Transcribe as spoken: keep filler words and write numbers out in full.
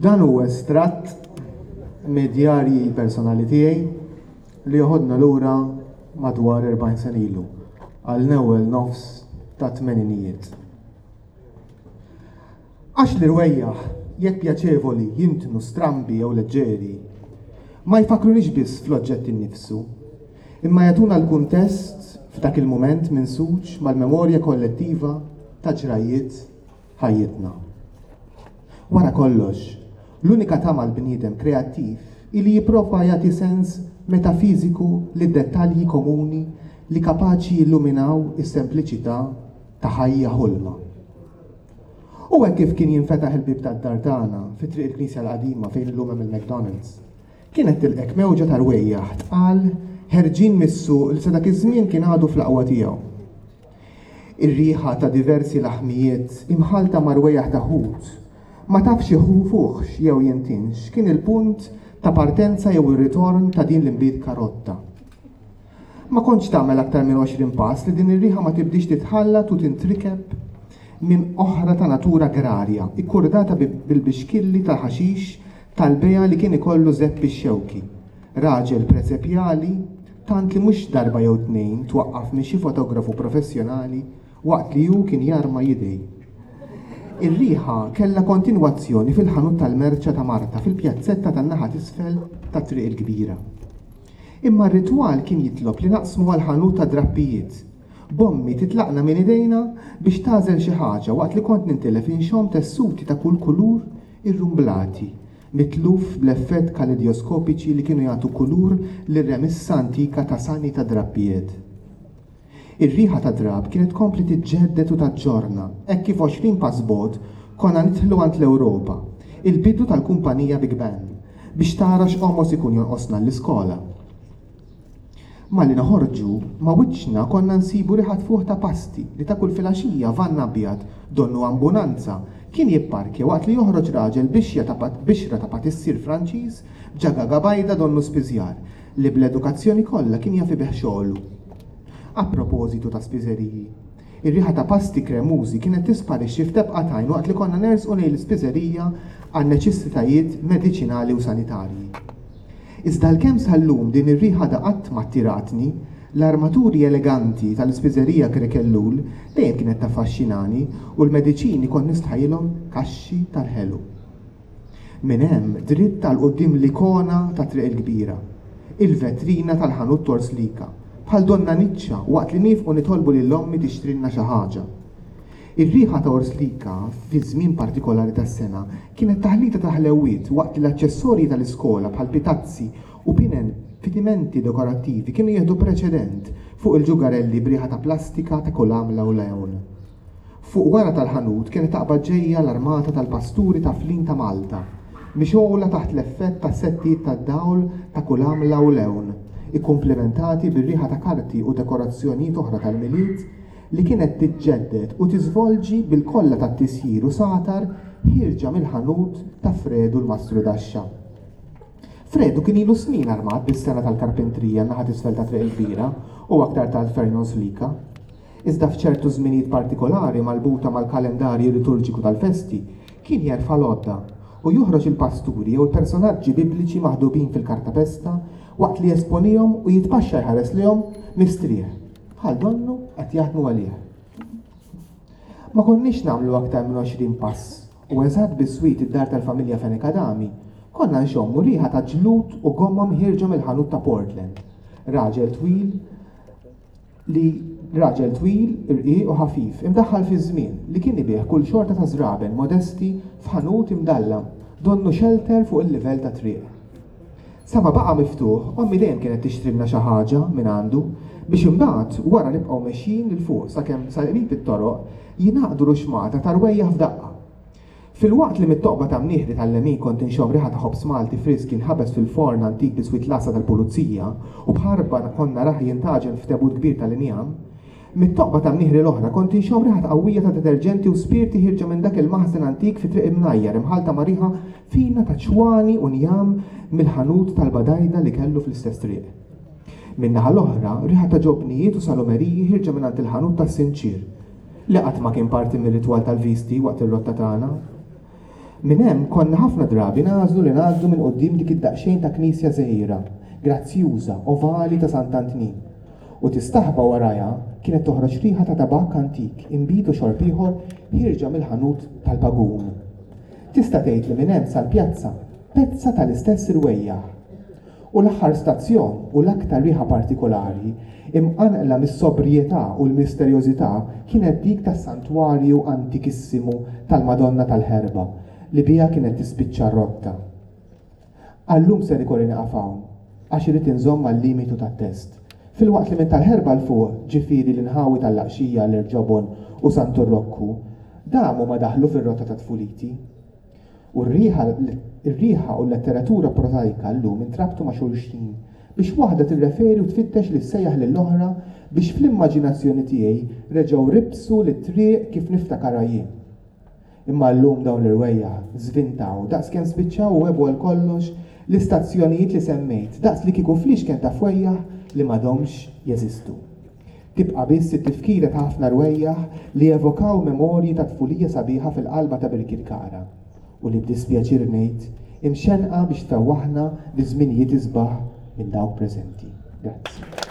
Dan hu estratt mid-djarji personali tiegħi li joħodna lura madwar erbgħin sena ilu, għall-ewwel nofs tat-tmeninijiet. Għax l-irwejjaħ, jekk pjaċevoli, jintnu strambi jew leġġeri, ma jfakkrunix biss fl-oġġett innifsu, imma jagħtuna l-kuntest f'dak il-mument minsuġ mal-memorja kollettiva ta' ġrajiet ħajjitna. Wara kollox, l-unika tama l-bniedem kreattiv ili jipprova jagħti sens metafiżiku lid-dettalji komuni li kapaċi jilluminaw is-sempliċità ta' ħajja ħolma. U hekk kif kien jinfetaħ il-bieb tad-dar tagħna fi Triq il-Knisja l-Qadima fejn illum hemm il-McDonald's, kienet tilqek mewġa ta' rwejjaħ tqal ħerġin mis-suq li sa dak iż-żmien kien għadu fl-aqwa tiegħu. Ir-riħa ta' diversi laħmijiet imħalta ma' rwejjaħ ta' ħut ma tafx iħufuħx jew jintinx kien il-punt ta' partenza jew ir-ritorn ta' din l-imbid karotta. Ma kontx tagħmel aktar minn għoxrin pass li din ir-riħa ma tibdix titħallat u tintrikeb minn oħra ta' natura agrarja, ikkurdata bil-bixkilli tal-ħaxix tal-beja li kien ikollu Zeppi x-Xewki, raġel presepjali tant li mhux darba jew tnejn twaqqaf minn xi fotografu professjonali waqt li hu kien jarma jidej. Ir-riħa kellha kontinwazzjoni fil-ħanut tal-merċa ta' Marta fil-pjazzetta tan-naħa t'isfel ta' Triq il-Kbira. Imma r-ritwal kien jitlob li naqsmu għal ħanut ta' drappijiet. Bommi titlaqna minn idejna biex tagħżel xi ħaġa waqt li kont nintilef inxomm tessuti ta' kull kulur irrumblati, mitluf bl-effett kaleidioskopiċi li kienu jagħtu kulur lir-remissa antika ta' sani ta' drappijiet. Ir-riħa ta' drab kienet tkompli tiġġedded u taġġorna, hekk kif għoxrin pass bogħod konna nidħlu għand l-Ewropa, il-bidu tal-kumpanija Big Ben, biex tara x'qomos ikun jonqosna l-iskola. Malli noħorġu, ma' wiċċna konna nsibu riħa tfuħ ta' pasti li ta' kull filgħaxija vann abjad donnu ambunanza kien jipparkja waqt li joħroġ raġel bixja ta' bixra ta' patissier Franċiż b'ġagaga bajda donnu spiżjar li bl-edukazzjoni kollha kien jaf ibih xogħlu. A propositu ta' spiżeriji, ir-riħa ta' pasti kremużi kienet tisparixxi f'tebqa t'għajn waqt li konna nersqu lejn l-ispiżerija għal neċessitajiet mediċinali u sanitarji. Iżda l-kemm sal-lum din ir-riħa da qatt ma attiratni, l-armaturi eleganti tal-ispiżerija Krekellul dejjem kienet taffaxxinani u l-mediċini kont nistħajilhom kaxxi tal-ħelu. Minn hemm dritt għal quddiem l-ikona ta' Triq il-Kbira, il-vetrina tal-ħanut Torslika, bħal donna niċċa waqt li nifqu nitolbu lil ommi tixtrilna xi ħaġa. Ir-riħa ta' Orslika fi żmien partikolari tas-sena kienet taħlita ta' ħlewiet waqt li l-aċċessorji tal-iskola bħal pitazzi u pinen fitimenti dekorattivi kienu jieħdu preċedent fuq il-ġugarelli b'riħa ta' plastika ta' kull għamla u lewn. Fuq wara tal-ħanut kienet taqbad ġejja l-armata tal-pasturi ta' Flin ta' Malta, mixgħula taħt l-effett ta' settijiet tad-dawl ta' kull għamla u lewn, ikkumplimentati bir-riħa ta' karti u dekorazzjonijiet oħra tal-Milied li kienet tiġġedded u tiżvolġi bil-kolla tat-tisjir u satar ħierġa mill-ħanut ta' Fredu l-Mastru Daxxa. Fredu kien ilu snin armat bis-sena tal-karpentrija naħa t'isfel ta' Triq il-Kbira u aktar tard Fernon Slika. Iżda f'ċertu żminijiet partikolari marbuta mal-kalendarju liturġiku tal-festi kien jerfa' l-għodda u joħroġ il-pasturi jew il-personaġġi bibliċi maħdubin fil-kartapesta waqt li jesponihom u jitpaxxa jħares lihom mistrieħ, bħal donnu qed jaħdmu għalih. Ma konniex nagħmlu aktar minn għoxrin pass u eżatt biswit id-dar tal-familja Fenech Adami konna nxommu riħa ta' ġlud u gomma mħierġa mill-ħanut ta' Portland. Raġel twil li raġel twil, irqiq u ħafif, imdaħħal fi żmien li kien ibih kull xorta ta' żraben modesti f'ħanut imdallam, donnu shelter fuq il-livell ta' triq. Sa ma baqa' miftuħ, ommi dejjem kienet tixtrilna xi ħaġa minn għandu biex imbagħad wara nibqgħu mexjin lil fuq sakemm sa qrib it-toroq jingħaqdu ruxmata ta' rwejjaħ f'daqqa. Filwaqt li mit-toqba ta' mnieħri tal-lemin kont inxomm riħa ta' ħobż Malti frisk jinħabes fil-forn antik biswit l-għassa tal-pulizija u b'ħarba konna raħ jintaġen f'tebut kbir tal-injam, mit-toqba ta' mnieħri l-oħra kont inxomm riħa qawwija ta' deterġenti u spirti ħirġa minn dak il-maħżen antik fi Triq Imnajjar imħalta ma' riħa fina ta' ċwani u njam mill-ħanut tal-badajda li kellu fl-istess triq. Min-naħa l-oħra, riħa ta' ġobnijiet u salumeriji ħirġa minn għand il-ħanut tas-sinċir, li qatt ma kien parti mir-ritwal tal-visti waqt ir-rotta tagħna. Minn hemm konna ħafna drabi nagħżlu li ngħaddu minn quddiem dik id-daqsxejn ta' knisja żgħira, grazzjuża, ovali ta' Sant'Antnin. U tistaħba warajha kienet toħroġ riħa ta' tabakk antik, inbid u xorb ieħor ħierġa mill-ħanut tal-pagun. Tista' tgħid li minn hemm sal-pjazza pezza tal-istess irwejjaħ. U l-aħħar stazzjon u l-aktar riħa partikolari, imqanqla mis-sobrjetà u l-misterjożità kienet dik tas-santwarju antikissimu tal-Madonna tal-Ħerba li biha kienet tispiċċa r-rotta. Għal-lum ser ikolli nieqaf hawn għax irrid inżomm mal-limitu tat-test. Filwaqt li minn tal-Ħerba 'l fuq, ġifieri l-inħawi tal-Laqxija, l-Irġobon u Santu Rokku, damu ma daħlu fir-rotta ta' tfuliti. U r-riħa r-riħa u l-letteratura prożajka llum intrabtu ma' xulxin biex waħda tirreferi u tfittex li ssejjaħ lill-oħra biex fl-immaġinazzjoni tiegħi reġgħu ribsu lit-triq kif niftakarha jien. Imma llum dawn l-irwejjaħ żvintaw daqskemm spiċċaw u għebu għal kollox l-istazzjonijiet li semmejt, daqs li kieku fliexken ta' fwejjaħ li m'għadhomx jeżistu. Tibqa' biss it-tifkira ta' ħafna rwejjaħ li jevokaw memorji ta' tfulija sabiħa fil-qalba ta' Birkirkara u li b'dispjaċir ngħid imxenqa biex tfewwaħna bi żminijiet isbaħ minn dawk preżenti. Grazzi.